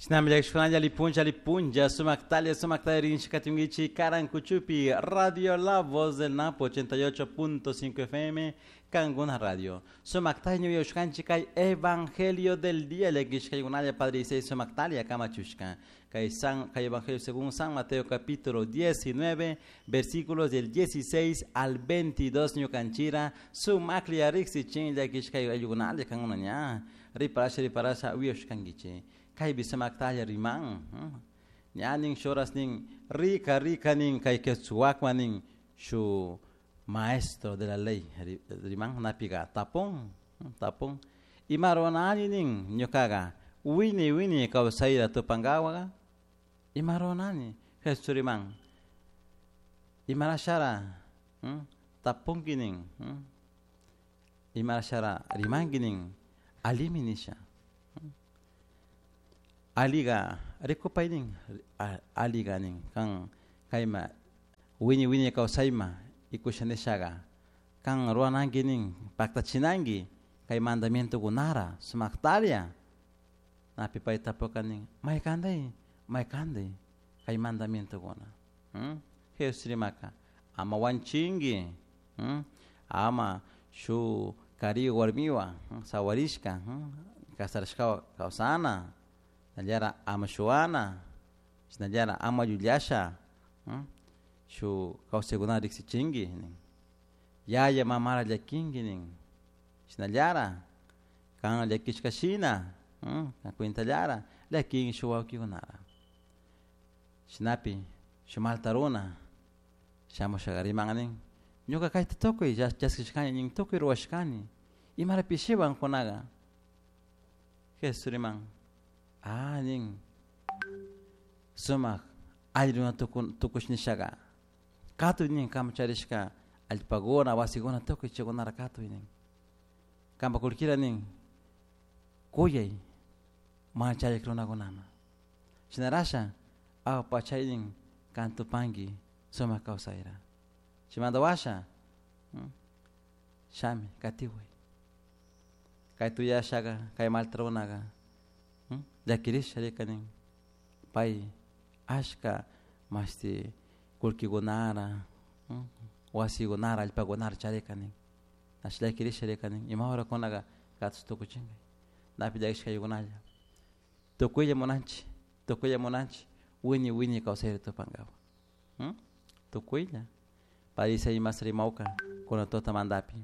Shinami llakishkunalla lipunlla lipunlla sumaktalla sumaktalla rinshikatunkichik Karankuchupi Radio La Voz del Napo 88.5 FM Kanguna Radio. Sumaktalla ñuyushkanchik kay Evangelio del Día llakishkaykunalla Padre Isai sumaktalla kamachushka. Kay San kay Evangelio según San Mateo capítulo 19 versículos del 16 al 22 ñukanchira sumaklla riksichin llakishkay ayllukunalla kankuna ña riparasha riparasha uyashkankichik. Kaypi sumaktalla riman. Ña nin shuras nin rica rica nin kay quechuakma nin shu maestro de la ley riman napiga tapun tapun ima ruranani nin ñukaga wini wini kawsayta tupankawaga ima ruranani Jesús riman imarashara tapunki nin imarashara rimanki nin allimi nisha alliga rikupay nin alliga nin kan kayma wini wini kawsayma ikusha nishaga kan rurananki nin paktachinanki kay mandamientokunara sumaktalla napi pay tapuka nin maykanday maykanday kay mandamientokuna. Jesús rimaka ama wanchinki ama shuk kari warmiwan sawarishka kasarashkawan kawsana shinallara ama shuwana shinallara ama llullasha shuk kawsaykunata riksichinki nin yaya mamara llakinki nin shinallara kan llakishka shina cuentallara llakinki shuk wawkikunara shinapi shuk malta runa shamushaga riman nin ñuka kayta tukuy chaskishkani nin tukuy ruwashkani imara pishiwan kunaga Jesús riman ah nin sumak alli runa tukush nishaga katuy nin kama charishka allpakuna wasikuna tukuy chaykunara katuy nin kanpa kullkira nin kuyay mana charik runakunaman shinarasha awpachay nin kan tupanki sumak kawsayra chaymanta washa shami katiway kay tuyashaka kay malta runaka llakirisha rika nin pay ashka mashti kullkikunara wasikunara allpakunara charika nin ash llakirisha rika nin ima horakunaka katush tukuchinkay napi llakishkaykunalla tukuylla munanchik tukuylla munanchik wiñay wiñay kawsayta tupankapak tukuylla Padre imas rimawka kuna tutamantapi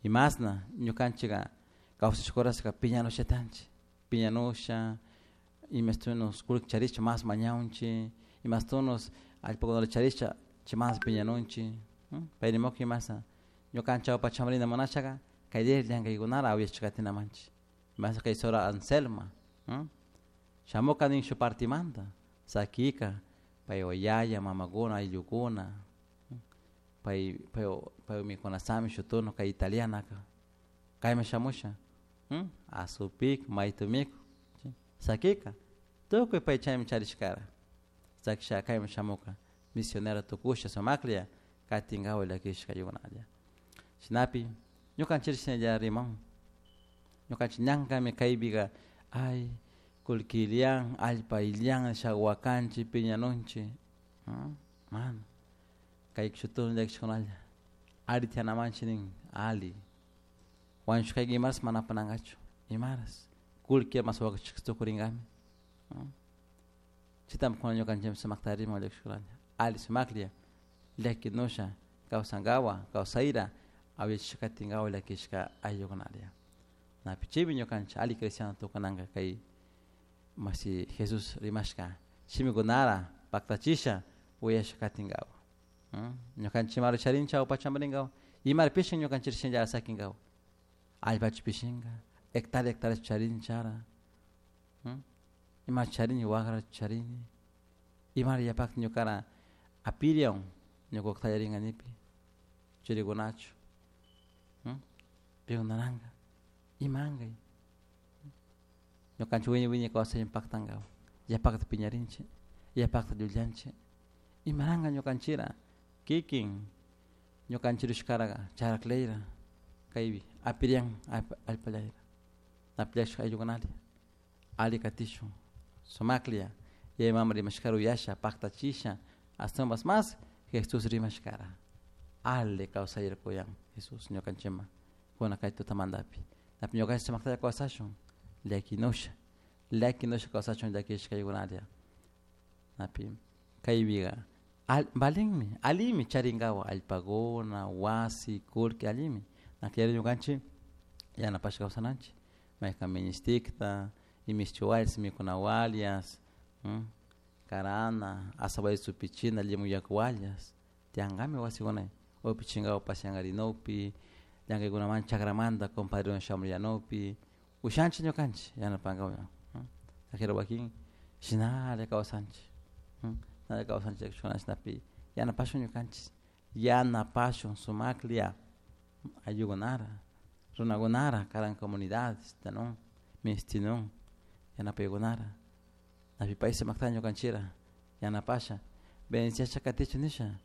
imasna ñukanchika kawsashkurashka piñanushatanchik piñanusha imastunos kullki charisha mas mañawunchik imastunos allpakunata charisha chay mas piñanunchik pay rimawka imasa ñukanchik awpachaman rina munashaka kay llankaykunara awyashka katinamanchik imasa kay Sora Anselma shamuka nin shuk partimanta sakika paywan yaya mamakuna ayllukuna pay pay pay mikunasami shuk turno kay italianaka kayman shamusha asupik maytu mikuk sakika tukuy pay chaymi charishkara sakisha kayman shamuka misionera tukusha sumaklla katinkawa llakishka yunalla shinapi ñukanchik shinalla riman ñukanchik ñankami kaypika ay kullki illan allpa illan nisha wakanchik piñanunchik mana kay shuk llakishkunalla alli tiyanamanchik nin alli wañushkayka imaras mana apanankachu imaras kullki mas wakachishka tukurinkami chaytami kuna ñukanchikmi sumakta riman llakishkunalla alli sumaklla llakinusha kawsankawa kawsayra awyachishka katinkawa llakishka ayllukunalla napi chaymi ñukanchik alli cristiano tukunanka kay mashi Jesús rimashka shimikunara paktachisha uyasha katinkawa ñukanchik imara charinchik awpachaman rinkawa imara pishin ñukanchik shinalla sakinkawa allpachu pishinka hectárea hectárea charinchara ima charini wagra charini imara yapakta ñukara apirian ñuka tallarinka nipi churikunachu pikunaranga imankay ñukanchik wiñay wiñay kawsaymi paktankawa yapakta piñarinchik yapakta llullanchik imaranka ñukanchikra kikin ñukanchik rishkaraka charaklayra kaypi apirian allpallayra napi llakishka ayllukunalla alli katishun. Sumaklla yaya mama rimashkara uyasha paktachisha ashtawanpas mas Jesús rimashkara ali kawsayarkuyan Jesús ñukanchikman kuna kay tutamantapi napi ñukanchik sumaktalla kawsashun llakinusha llakinusha kawsachun llakishkaykunalla napi kaypiga valinmi allimi charinkawa allpakuna wasi kullki allimi nakllari ñukanchik yanapashka kawsananchik maykan ministikta imishchiwallas mikunawallas karana asaway supichina limon yakuwallas tiyankami wasikuna upichinkawa pasiankarinukpi llankaykunaman chakramanta compadrewan shamuyanukpi ushanchik ñukanchik yanapankawa ajero wakin shinalla kawsanchik shinalla kawsanchik chashnapi yanapashun ñukanchik yanapashun sumaklla ayllukunara runakunara karan comunidades tanun mishtinun yanapaykunara napi pay sumakta ñukanchikra yanapasha bendiciasha katichun nisha.